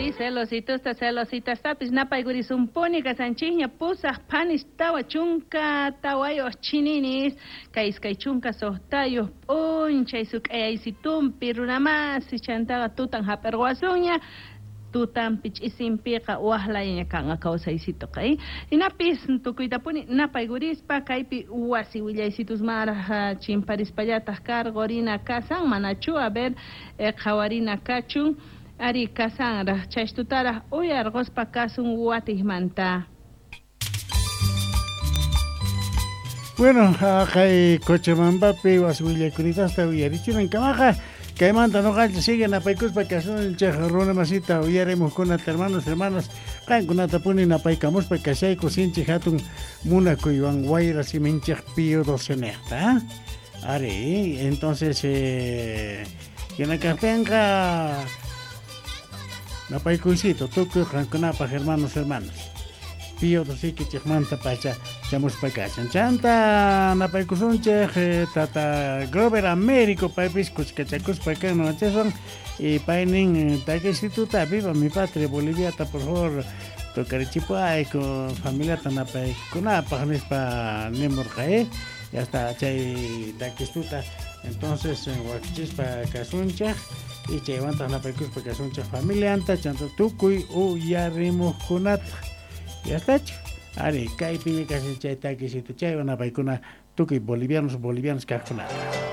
Ari celositusta celositastapis napaykurisunpuni kasanchikña 8 phanis 44 chininis kay 26 p'unchay suk'ayaysitumpi runamasi chantaqa tutan hap'irquwasunña tutanpi ch'isinpiqa waqlayaña kanqa kawsaysituqa hinapis tukuytapuni napaykurispa kaypi wasi willaysitusmanraq chimparispallataq karqurina kasan manachu a ver qhawarina kachun ari kasanraq chaystutaraq uyarquspa kasun watijmanta. Bueno, kay Cochabambapi wasi willakunitasta uyarichinankamaqa kaymanta noqanchik sigue napaykuspa kasunchik runa masita uyarimuqkunata hermanos, hermanas qankunatapuni napaykamuspa kashayku sinchi hatun munakuywan wayra siminchik Pío XII ari entonces hina kaqtinqa napaykuysito tukuy qankunapaq hermanos, hermanas Pío XII pacha chamuspa kashan chanta napaykusunchik tata Grover Américo paypis kuskachakuspa kan noqanchiswan y paynin takisituta viva mi patria Boliviata por favor tocarichipuayku familiata napaykunapaq nispa nimurqa ya está chay takistuta entonces wakichispa kasunchik y chaywantaq napaykuspa kasunchik familianta chanta tukuy uyarimuqkunata ya estachu ari kaypiña kashan chay takisitu chaywan napaykuna tukuy bolivianos bolivianos kaqkunata.